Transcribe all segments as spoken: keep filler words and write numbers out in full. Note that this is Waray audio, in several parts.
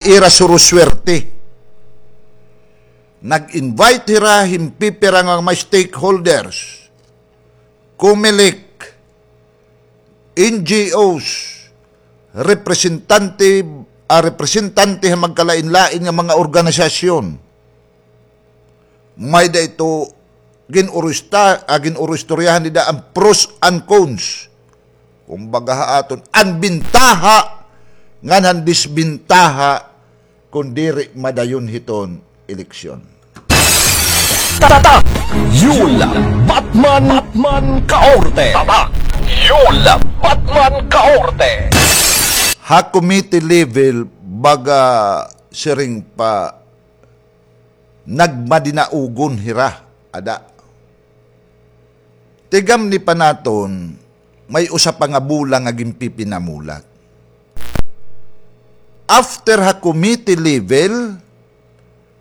ira suruswerte. Nag-invite hira hin pipira nga mga stakeholders, Comelec, N G Os, representante, ah, representante han magkalain-lain nga mga organisasyon. May-ada ito gin-urusta-, ah, gin-uruistoryahan dida an pros and cons. Kumbaga ha aton, an bintaha ngan han disbintaha kon diri madayon hiton eleksyon. Tatak Yul Batman, Batman Kaorte. Tatak Yul Batman Kaorte. Ha committee level, baga siring pa nagmadinaugon hira, ada. Tigamni pa naton, may usa pa nga bola nga ginpipinamulat. After ha committee level,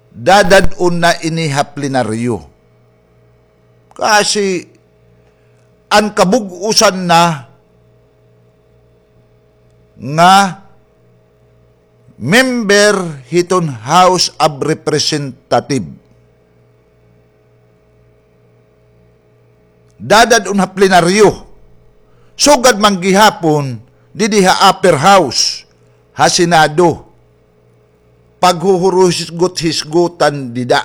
dadad-on na ini ha plenaryo. Kasi an kabug-osan na nga member hiton House of Representative. Dadad-on ha plenaryo. Sugad man gihapon didi ha upper house, ha Senado. Paghuhuruhisgot-hisgotan dida.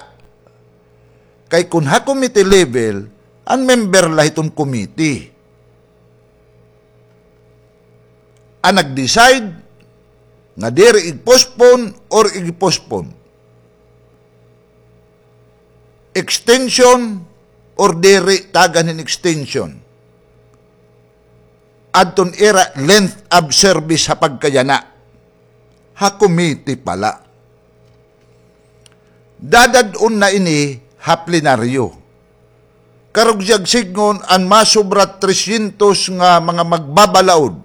Kay kon ha committee level, an member la hiton committee an nag-decide nga diri ig-postpone or ig-postpone. Extension or diri tagan hin extension. Adton ira length of service ha pagkayana. Ha committee pa la. Dadad-on na ini ha plenaryo. Karuyag sidngon an masobra trescientos nga mga magbabalaod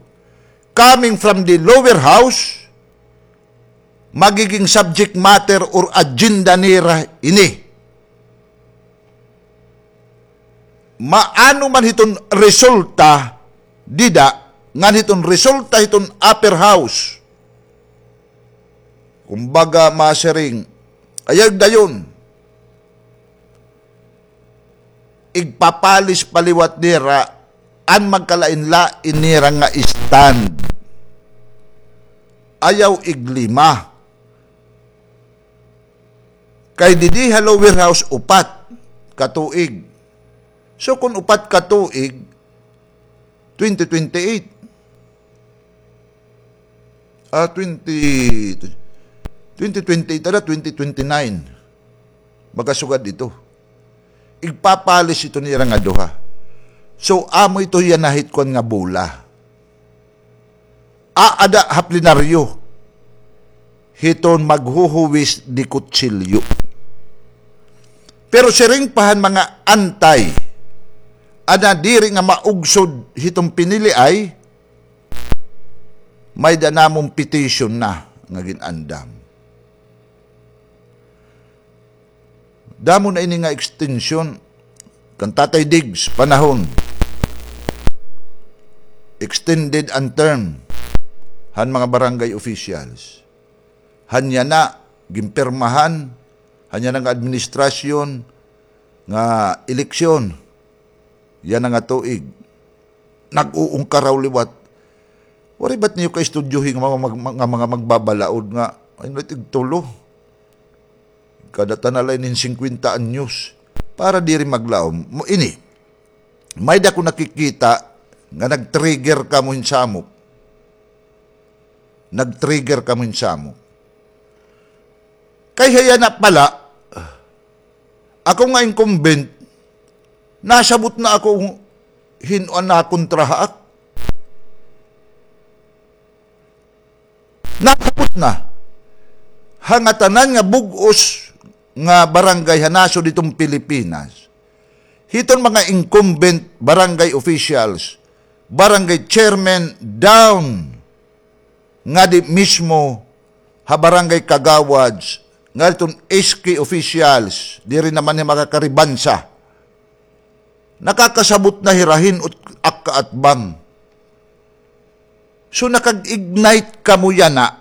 coming from the lower house, magiging subject matter or agenda nira ini. Maano man hiton resulta dida, ngan hiton resulta hiton upper house. Kumbaga, masiring, ayaw dayon. Igpapalis pa liwat nira an magkalain-lain nira nga stand. Ayaw iglima. Kay didi ha lower house, upat ka tuig. So, kun upat ka tuig, twenty twenty-eight. Ah, twenty, twenty twenty-eight, ada, twenty twenty-nine. Makasugad ito. Igpapalis ito nira nga duha. So, amo ito yana hit kuan nga bola. Aada ha plenaryo hiton maghuhuwis de kutsilyo. Pero siring pa han mga antay, ada diri nga maugsod hiton piniliay, may-ada namon petition na nga gin-andam. Damo na ini nga extension kan Tatay Diggs panahon. Extended an term han mga barangay officials. Han yana ginpirmahan han yana nga administrasyon nga eleksyon. Yana nga tuig. Nag-uungkaraw liwat. Waray ba it niyo kaistudyohi nga mga mag-, nga mga magbabalaod nga, ay, tigtulo. Kada tana la inin singkwenta anyos. Para diri maglaom. Mo ini. May-ada ko nakikita nga nag-trigger kamo hin samok. Nag-trigger kamo hin samok. Kay ha yana pa la, ako nga incumbent, nasabot na ako hin-o an nakontra ha ak-, nasabot na. Ha ngatanan nga bug-os nga barangay ha nasod hiton Pilipinas, hiton mga incumbent barangay officials, barangay chairman down ngadi mismo ha barangay kagawads, ngadi hiton S K officials, diri naman niya makakaribansa. Nakakasabot na hira hin-o it ak kaatbang. So, nakag-ignite kamo yana